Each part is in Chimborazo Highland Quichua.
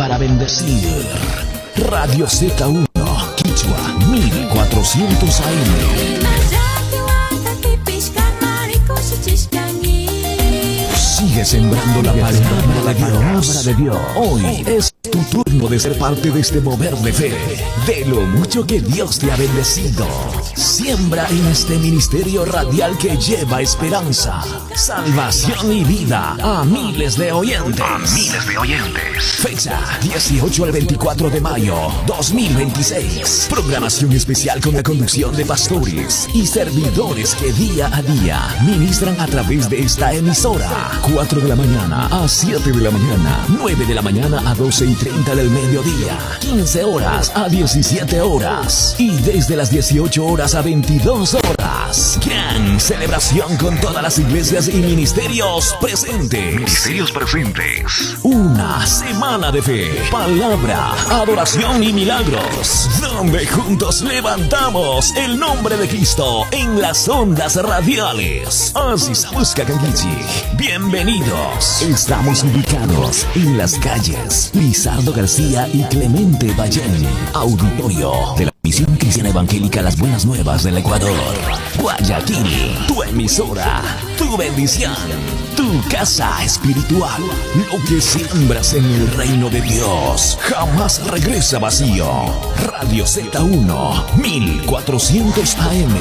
Para bendecir. Radio Z1, Quichua, 1400 AM. Sigue sembrando la palabra de Dios. De Dios. Hoy es tu turno de ser parte de este mover de fe, de lo mucho que Dios te ha bendecido. Siembra en este ministerio radial que lleva esperanza, salvación y vida a miles de oyentes. A miles de oyentes. Fecha 18 al 24 de mayo 2026. Programación especial con la conducción de pastores y servidores que día a día ministran a través de esta emisora. 4 de la mañana a 7 de la mañana, 9 de la mañana a 12:30 del mediodía, 15 horas a 17 horas y desde las 18 horas a 22 horas. Gran celebración con todas las iglesias y ministerios presentes. Ministerios presentes. Una semana de fe, palabra, adoración y milagros, donde juntos levantamos el nombre de Cristo en las ondas radiales. Así se busca Kanguichi. Bienvenidos. Estamos ubicados en las calles Lizardo García y Clemente Ballén. Auditorio de la Misión Cristiana Evangélica Las Buenas Nuevas del Ecuador. Guayaquil, tu emisora, tu bendición, tu casa espiritual. Lo que siembras en el reino de Dios jamás regresa vacío. Radio Z1, 1400 AM.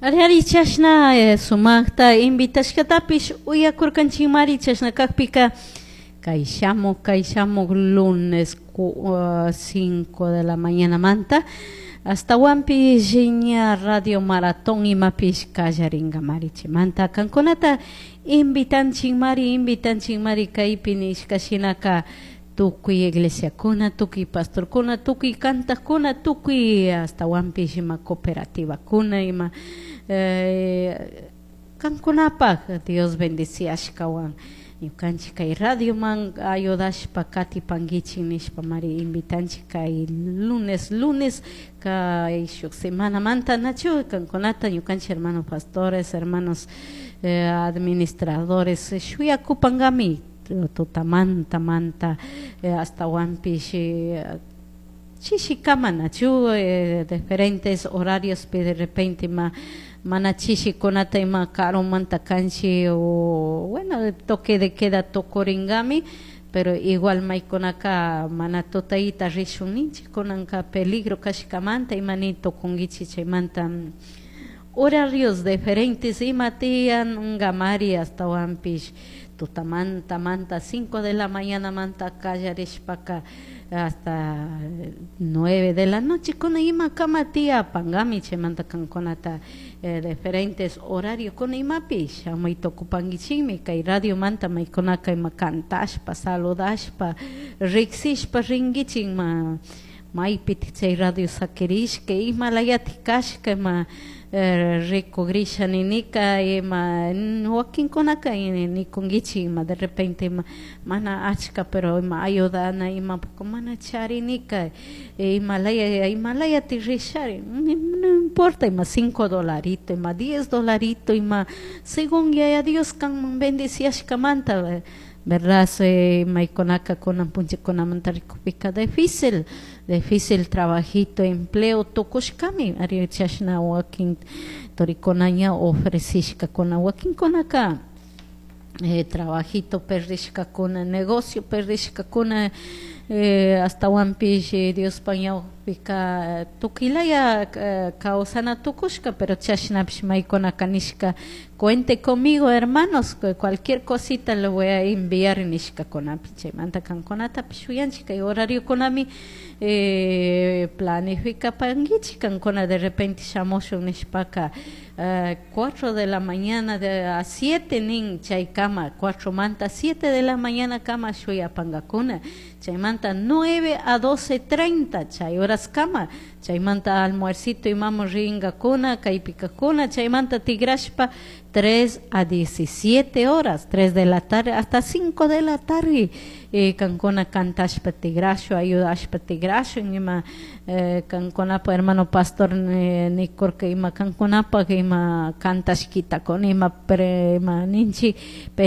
Ari chashna sumaqta invitashkatapish uyakurkanchikmari chashna kaqpika kay shamuq lunes 5 de la mañana manta hasta wampi ña radio maratón imapish kallarinkamari chaymanta kankunata invitanchikmari kaypi nishka shinaka tukuy iglesiakuna, tukuy pastorkuna, tukuy kantakuna, tukuy hasta wampish ima cooperativakuna ima kankunapaq Dios bendiciashkawan ñukanchik kay radioman ayudashpa katipankichik nishpa mari invitanchik kay lunes kay shuk semanamanta nachu kankunata ñukanchik hermanos pastores, hermanos administradores shuyakupankami tutamanta manta hasta wampish chishikama nachu diferentes horarios pe de repente ma mana chishikunata ima karumanta kanchi o bueno toque de queda tukuringami pero igual maykunaka mana tutayta rishun ninchik kunanka peligro kashkamanta ima ni tukunkichik chaymanta horarios diferentes ima tiyan ngamari hasta wampish tutamanta manta 5 de la mañana manta kallarishpaka hasta 9 de la noche kuna ima kama tiyapankami chaymanta kankunata diferentes horarios kuna imapish shamuy tukupankichikmi kay radio manta maykunaka ima kantashpa saludashpa riksishpa rinkichik ma maypitik chay radio sakirishka imalayatik kashka ima rikugrisha ninika ima wakinkunaka nikunkichik ima de repente ima mana achka pero ima ayudana ima poco mana charinika imalayati rishari no importa ima 5 dolarito ima 10 dolarito ima según yaya Dios kanman bendiciashkamanta, verdad maykunaka kunan punllakunamanta rikupika difícil trabajito empleo tukushkami ari chashna wakin turikuna ña ofrecishkakuna wakinkunaka trabajito perdishkakuna negocio perdishkakuna hasta wampish Diospa ñawpika tukilaya kawsana tukushka pero chashnapish maykunaka nishka cuente conmigo hermanos cualquier cosita le voy a enviar nishkakunapi chaymanta kankunatapish shuyanchik kay horariokunami planificapankichik kankuna de repente shamushun nishpaka 4 de la mañana a 7 nin chaykama 4 manta 7 de la mañana kama shuyapankakuna chaymanta 9 a 12:30 chay horas kama chaymanta almuercito imamu rinkakuna kaypikakuna chaymanta tigrashpa 3 a 17 horas, 3 de la tarde hasta 5 de la tarde kankuna kantashpa tigrashu ayudashpa tigrashu ima kankunapa hermano pastor nikurka ima kankunapaq ima kantashkitakuna ima pre ima ninchi.